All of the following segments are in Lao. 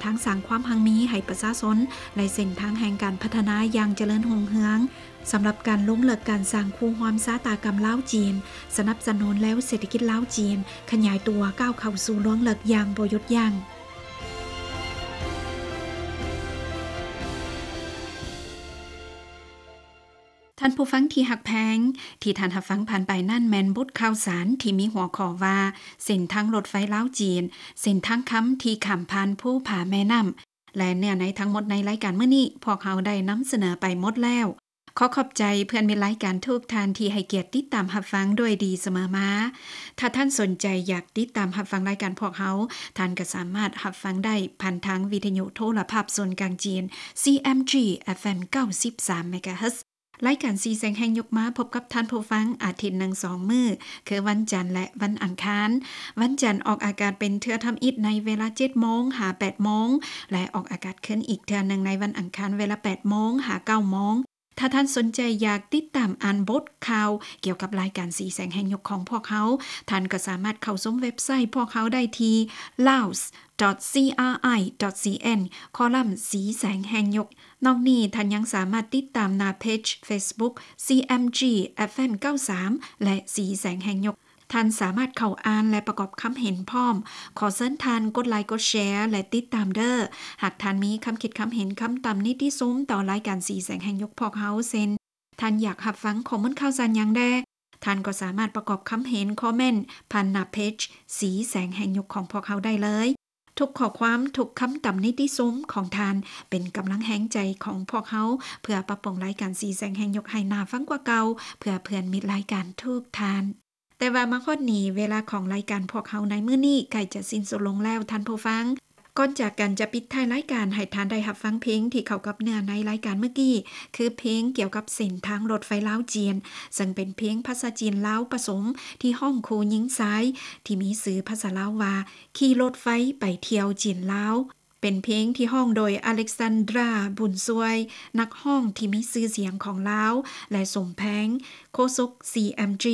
ທາງສ້າງຄວາມຮັ່ງມີໃຫ້ປະຊາຊົນ ແລະ ເສັ້ນທາງແຫ່ງການພັດທະນາຢ່າງຈະເລີນຮຸ່ງເຮືອງ. ສຳລັບການລົງເລິກການສ້າງຄູ່ຮ່ວມຊະຕາກຳລາວ-ຈີນ, ສະໜັບສະໜູນແລວເສດຖະກິດລາວ-ຈີນ ຂະຫຍາຍຕົວກ້າວເຂົ້າສູ່ລວງເລິກຢ່າງບໍ່ຢຸດຢັ້ງ. ທ່ານຜູ້ຟັງທີ່ຮັກແພງ, ທີ່ທ່ານຮັບຟັງຜ່ານໄປນັ້ນແມ່ນບົດຂ່າວສານທີ່ມີຫົວຂໍ້ວ່າ ເສັ້ນທາງລົດໄຟລາວ-ຈີນ, ເສັ້ນທາງຄຳທີ່ຂ້າມຜ່ານພູຜາແມ່ນ້ຳ ແລະ ເນື້ອໃນທັງໝົດໃນລາຍການມື້ນີ້ ພວກເຮົາໄດ້ນຳສະເໜີໄປໝົດແລ້ວ. ຂໍຂອບໃຈເພື່ອນມິດລາຍການທຸກທ່ານທີ່ໃຫ້ກຽດຕິດຕາມຮັບຟັງດ້ວຍດີສະເໝີມາ. ຖ້າທ່ານສົນໃຈຢາກຕິດຕາມຮັບຟັງລາຍການພວກເຮົາ, ທ່ານກໍສາມາດຮັບຟັງໄດ້ຜ່ານທາງວິທະຍຸໂທລະພາບສູນກາງຈີນ CMG FM ເກົ້າສິບສາມ MHz. ລາຍການສີແສງແຫ່ງຍຸກມາພົບກັບທ່ານຜູ້ຟັງອາທິດໜຶ່ງສອງມື້ ຄືວັນຈັນ ແລະ ວັນອັງຄານ. ວັນຈັນອອກອາກາດເປັນເທື່ອທຳອິດໃນເວລາເຈັດໂມງຫາແປດໂມງ ແລະ ອອກອາກາດຄືນອີກເທື່ອໜຶ່ງໃນວັນອັງຄານເວລາແປດໂມງຫາເກົ້າໂມງ. ຖ້າທ່ານສົນໃຈຢາກຕິດຕາມອ່ານບົດຂ່າວກ່ຽວກັບລາຍການສີແສງແຫ່ງຍຸກຂອງພວກເຮົາ, ທ່ານກໍສາມາດເຂົ້າຊົມເວັບໄຊພວກເຮົາໄດ້ທີ່ laos.cri.cn ຄອລັມສີແສງແຫ່ງຍຸກ. ນອກນີ້ທ່ານຍັງສາມາດຕິດຕາມໜ້າເພຈ Facebook CMG FM เก้าสาม ແລະ ສີແສງແຫ່ງຍຸກ. ທ່ານສາມາດເຂົ້າອ່ານ ແລະ ປະກອບຄຳເຫັນພ້ອມ. ຂໍເຊີນທ່ານກົດໄລກົດແຊ ແລະ ຕິດຕາມເດີ້. ຫາກທ່ານມີຄຳຄິດຄຳເຫັນ, ຄຳຕຳນິຕິຊົມຕໍ່ລາຍການສີແສງແຫ່ງຍຸກພວກເຮົາ ເຊັ່ນ ທ່ານຢາກຮັບຟັງຂໍ້ມູນຂ່າວສານຫຍັງແດ່, ທ່ານກໍສາມາດປະກອບຄຳເຫັນ, ຄອມເມັນ ຜ່ານໜ້າເພຈສີແສງແຫ່ງຍຸກຂອງພວກເຮົາໄດ້ເລີຍ. ທຸກຂໍ້ຄວາມ, ທຸກຄຳຕຳນິຕິຊົມຂອງທ່ານ ເປັນກຳລັງແຮງໃຈຂອງພວກເຮົາ ເພື່ອປັບປຸງລາຍການສີແສງແຫ່ງຍຸກໃຫ້ໜ້າຟັງກວ່າເກົ່າ ເພື່ອເພື່ອນມິດລາຍການທຸກທ່ານ. ແຕ່ວ່າມາຮອດນີ້, ເວລາຂອງລາຍການພວກເຮົາໃນມື້ນີ້ໃກ້ຈະສິ້ນສຸດລົງແລ້ວ, ທ່ານຜູ້ຟັງ. ກ່ອນຈາກກັນຈະປິດທ້າຍລາຍການ, ໃຫ້ທ່ານໄດ້ຮັບຟັງເພງທີ່ເຂົ້າກັບເນື້ອໃນລາຍການເມື່ອກີ້, ຄືເພງກ່ຽວກັບເສັ້ນທາງລົດໄຟລາວ-ຈີນ, ເຊິ່ງເປັນເພງພາສາຈີນລາວປະສົມ ທີ່ຮ້ອງຄູ່ຍິງຊາຍ ທີ່ມີຊື່ພາສາລາວວ່າ ຂີ່ລົດໄຟໄປທ່ຽວຈີນລາວ. ເປັນເພງທີ່ຮ້ອງໂດຍ ອາເລັກຊານດຣາ ບຸນຊ່ວຍ, ນັກຮ້ອງທີ່ມີຊື່ສຽງຂອງລາວ ແລະ ສົມແພງ ໂຄສົກ CMG.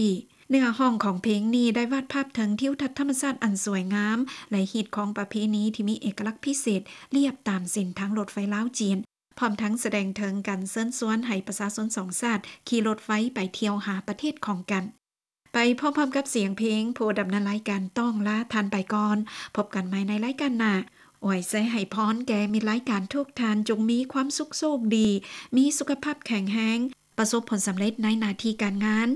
ເນື້ອຮ້ອງຂອງເພງນີ້ໄດ້ວາດພາບເຖິງທິວທັດທຳມະຊາດອັນສວຍງາມ ແລະ ຮີດຄອງປະເພນີທີ່ມີເອກະລັກພິເສດ ລຽບຕາມເສັ້ນທາງລົດໄຟລາວ-ຈີນ, ພ້ອມທັງສະແດງເຖິງການເຊີນຊວນໃຫ້ປະຊາຊົນສອງຊາດຂີ່ລົດໄຟໄປທ່ຽວຫາປະເທດຂອງກັນ. ໄປພ້ອມໆກັບສຽງເພງ, ຜູ້ດຳເນີນລາຍການຕ້ອງລາທ່ານໄປກ່ອນ. ພົບກັນໃໝ່ໃນລາຍການໜ້າ. ອວຍໄຊໃຫ້ພອນແກ່ມິດລາຍການທຸກທ່ານ, ຈົ່ງມີຄວາມສຸກໂຊກດີ, ມີສຸຂະພາບແຂງແຮງ, ປະສົບຜົນສຳເລັດໃນໜ້າທີ່ການງານ.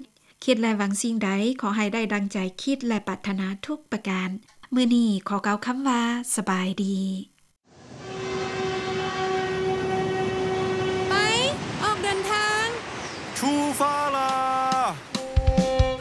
ຄິດ ແລະ ຫວັງສິ່ງໃດ, ຂໍໃຫ້ໄດ້ດັ່ງໃຈຄິດ ແລະ ປາດຖະໜາທຸກປະການ. ມື້ນີ້ຂໍກ່າວຄຳວ່າ ສະບາຍດີ. ໄປ, ອອກເດີນທາງ. 出发啦!